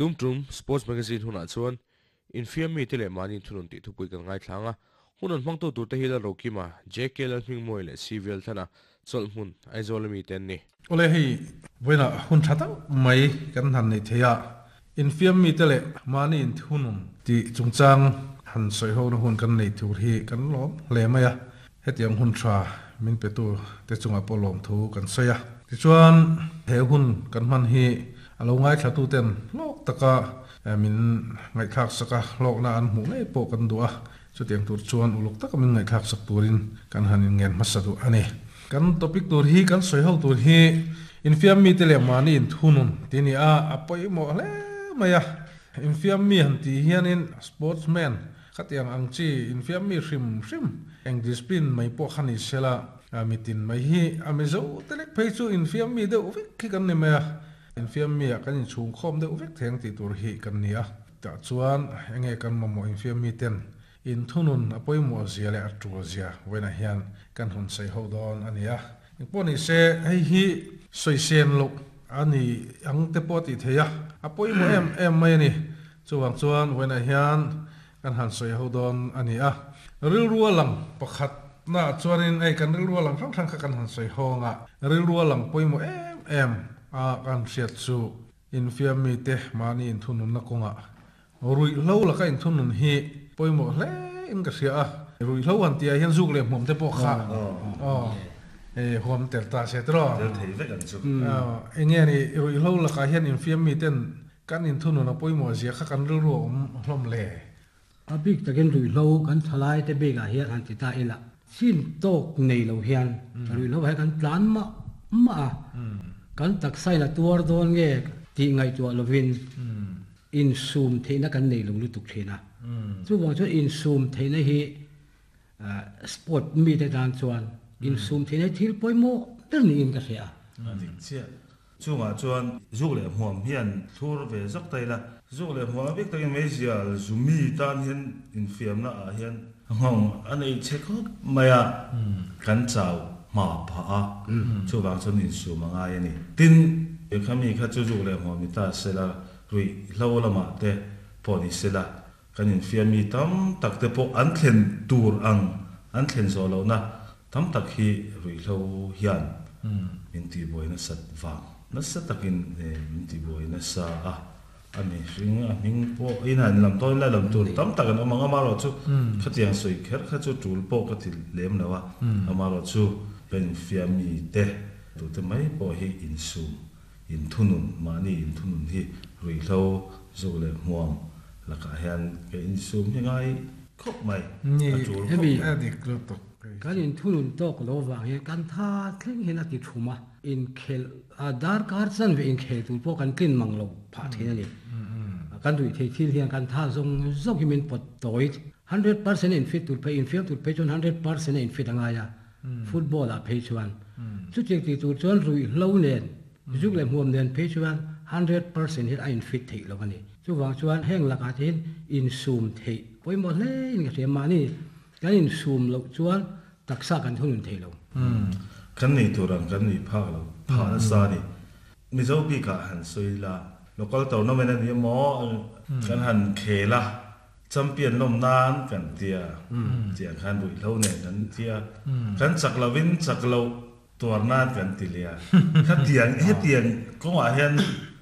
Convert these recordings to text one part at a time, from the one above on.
Tum tum Sports Magazine hunah chuan infiam mite leh mahni thunun tih thupui kan ngaithlang a, hun an hmangtu turte hi Lalrokima, JK Lalhmingmawii leh CV Lalthana chawlhhmun Aizawl ami te an ni. Awle hei vawiinah hun tha tak mai kan han neih theih a, infiam mite leh mahni inthunun tih chungchang han sawihona hun kan neih tur hi kan lawm hle mai a, hetiang hun tha min petu te chungah pawh lawmthu kan sawi a. Tichuan he hun kan hman hi a lo ngaithlatu ten hlawk taka min ngaihthlak sak a, hlawkna an hmuh ngei pawh kan duh a, Chutiang tur chuan uluk taka min ngaihthlak sak turin kan han inngen hmasa duh a ni. Kan topic tur hi, kan sawi ho tur hi infiam mite leh mahni inthunun tih a ni a, a pawimawh hle mai a. Infiam mi han tih hianin sportsman khatiang ang chi infiam mi hrim hrim eng discipline mai pawh kha ni sela, mitin mai hi a Mizo te lek phei chu infiam mi deuh vek hi kan ni mai a. Infiam mi ah kan inchhungkhawm deuh vek theng tih tur hi kan ni a. Tah chuan enge kan mamawh infiam miten inthunun a pawimawh zia leh a tul zia vawiinah hian kan hun sawi ho dawn a ni a. Engpawh ni se hei hi sawi sen loh a ni ang te pawh a tih theih a, a pawimawh em em mai a ni. Chuvang chuan vawiinah hian kan han sawi ho dawn a ni a. Rilru a lang pakhat naah chuanin hei kan rilru a lang hrang hrang kha kan han sawi ho ang a, rilru a lang pawimawh em em a kan hriat chu Infiam mite mahni inthununna kawngah ruihhlo laka inthunun hi pawimawh hle in ka hria a. Ruihhlo han tihah hian zuk leh hmuam te pawh kha huam tel ta se tiraw? Tel thei vek ang chu. Enge ni ruihhlo lakah hian infiam miten kan inthunun a pawimawh zia kha kan rilru a awm hlawm le? A bik takin ruihhlo kan thalai te bikah hian han ti ta ila, chin tawk nei lo hian ruihhlo ah hian kan tlan mah mah a, kan taksa in a tuar dawn nge tih ngaihtuah lovin insum theihna kan nei lo lutuk thin a. Chuvang chuan insum theihna hi sport mite tan chuan insum theihna hi thil pawimawh ber niin ka hria a. A dik chiah. Chungah chuan zuk leh hmuam hian thlur ve zawk ta ila, zuk leh hmuam a bik takin meizial zumi tan hian infiamna ah hian nghawng a nei chhe khawp mai a, kan chau hma phah a, chuvang chuan insum a ngai a ni. Tin, khami kha chu zuk leh hmuam ni ta sela, ruih hlo lamah te pawh ni sela, kan infiam mi tam tak te pawh an thlen tur ang an thlen zawh lohna tam tak hi ruihhlo hian min tihbuai nasat vang nasa takin min tihbuai nasa a, a mihring a hming pawh in han lam tawn ila lam tur tam tak an awm ang amaherawhchu khatiang sawi kher kha chu tul pawh ka ti lem lo a, amaherawhchu kan infiam mi te tute mai pawh hi insum Inthunun, mahni inthunun hi ruihhlo zuk leh hmuam lakah hian ka insum hi ngai khawp mai, a tul khawp mai. Kan inthunun tawk lo vang hian kan tha thleng hian a ti thum a, inkhel a darkar chanve inkhel tur pawh kan tlin mang lo phah thin a ni. Kan ruih thei thil hian kan tha zawng zawng hi min pawt tawi. 100% a infit tur phei, infiam tur phei chuan 100% a infit a ngai a. Football ah phei chuan chutiang tih tur chuan ruihhlo nen, zuk leh hmuam nen phei chuan 100% hian a in fit theih lo a ni. Chuvang chuan heng lakah te hian insum theih pawimawh hle in ka hria. Mahni kan insum loh chuan taksa kan thunun thei lo. Kan nei tur ang kan nih phak lo phah nasa a ni. Mizo bikah han sawi ila local tournament a ni emaw kan han khel a. Champion lawm nan kan tia, tiang khan ruihhlo nen kan tia, kan chak lovin chak loh tuar nan kan ti leh a. Khatiang hetiang kawngah hian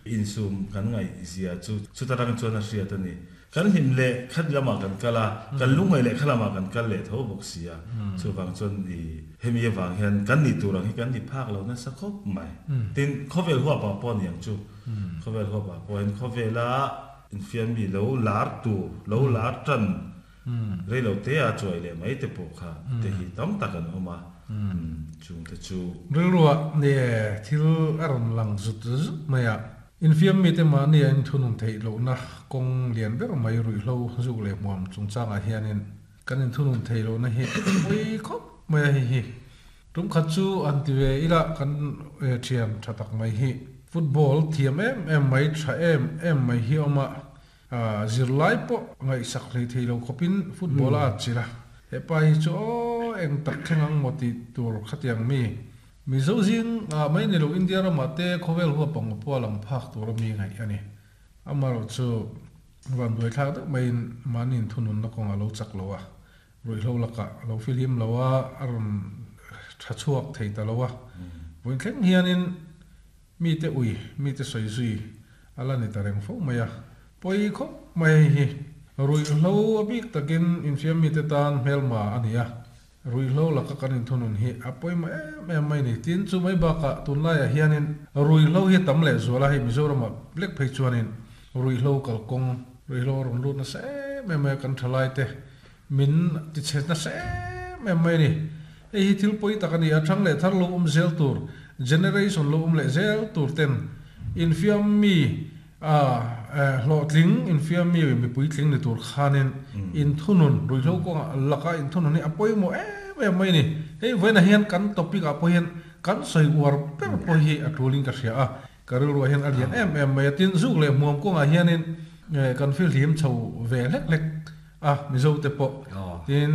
insum kan ngaih zia chu chuta rang chuan a hriat a ni. Kan hlim leh khat lamah kan kal a, kan lungngaih leh kha lamah kan kal leh tho bawk si a. Chuvang chuan i hemi avang hian kan nih tur ang hi kan ni phak lo nasa khawp mai. Tin, khawvel huapah pawh a ni ang chu. Khawvel huapah pawhin khawvela Infiam mi lo lar tur, lo lar tan rei lo te a chuai leh mai te pawh kha te hi tam tak an awm a, chung te chu. Rilruah nge thil a rawn lang zut zut mai a, infiam mite mahni a inthunun theih lohna kawng lian ber mai ruihhlo zuk leh hmuam chungchangah hianin kan inthunun theih lohna hi a pawi khawp mai a, hei hi Tum khat chu an ti ve ila kan thian tha tak mai hi. Football thiam em em mai, tha em em mai hi awm a, zirlai pawh ngaihsak hlei thei lo khawpin football a atchilh a. Hepa hi chu aw eng tak thleng ang maw tih tur khatiang mi. Mizo zing ah mai ni lo India ramah te khawvel huap ang pawh a lang phak tur a mi ngaih a ni. Amaherawhchu, vanduai thlak deuh maiin mahni inthununna kawngah a lo chak lo a, ruihhlo lakah a lo fihlim lo a, a rawn tha chhuak thei ta lo a. Vawiin thleng hianin mite ui, mite sawi zui a la ni ta reng fo mai a. Pawi khawp mai hei hi. Ruihhlo a bik takin infiam mite tan hmelma a ni a. Ruihhlo laka kan inthunun hi a pawimawh em em mai ni. Tin, chu mai bakah tunlaiah hianin ruihhlo hi a tam lehzual a, hei Mizoramah lek phei chuanin ruihhlo kalkawng, ruihhlo a rawn lut nasa em em mai a, kan thalaite min tichhe nasa em em mai a ni. Hei hi thil pawi tak a ni a, thang leh thar lo awm zel tur, generation lo awm leh zel tur ten infiam mi A hlawhtling infiammi mipui tling ni tur khanin inthunun, ruihhlo kawngah laka inthunun hi a pawimawh em em mai a ni. Hei vawiinah hian kan topic ah pawh hian kan sawi uar ber pawh hi a tulin ka hria a, ka rilruah hian a lian em em mai a. Tin, zuk leh hmuam kawngah hianin kan fihlim chho ve hlek hlek a, Mizo te pawh. Tin,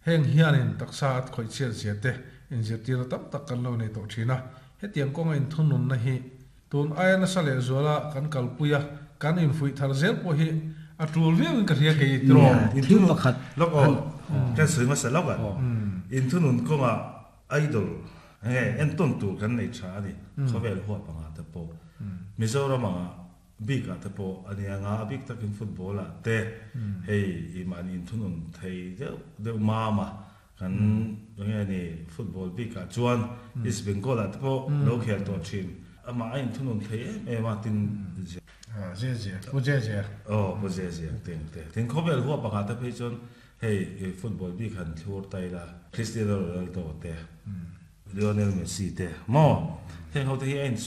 heng hianin taksa a khawih chhiat zia te inzirtirna tam tak kan lo nei tawh thin a. Hetiang kawnga inthununna hi Tun aia nasa leh zuala kan kalpui a, kan infuih thar zel pawh hi a tul viauin ka hria kei tiraw? Thil pakhat Lawk aw, kan sawi hmasa lawk a, inthunun kawngah idol nge entawn tur kan nei tha a ni, khawvel huap angah te pawh, Mizoram angah bikah te pawh a nia nga, a bik takin football ah te hei i mahni inthunun thei deuh deuh mam a, Kan enge ni football bik ah chuan East Bengal ah te pawh lo khel tawh thin. Amah a inthunun thei em em a tin zia. Zia zia, pu zia zia. Aw pu zia zia tin te. Tin khawvel huap pakhat te phei chuan hei football bik han thlur ta ila Cristiano Ronaldo te, Lionel Messi te maw heng ho te hi a in.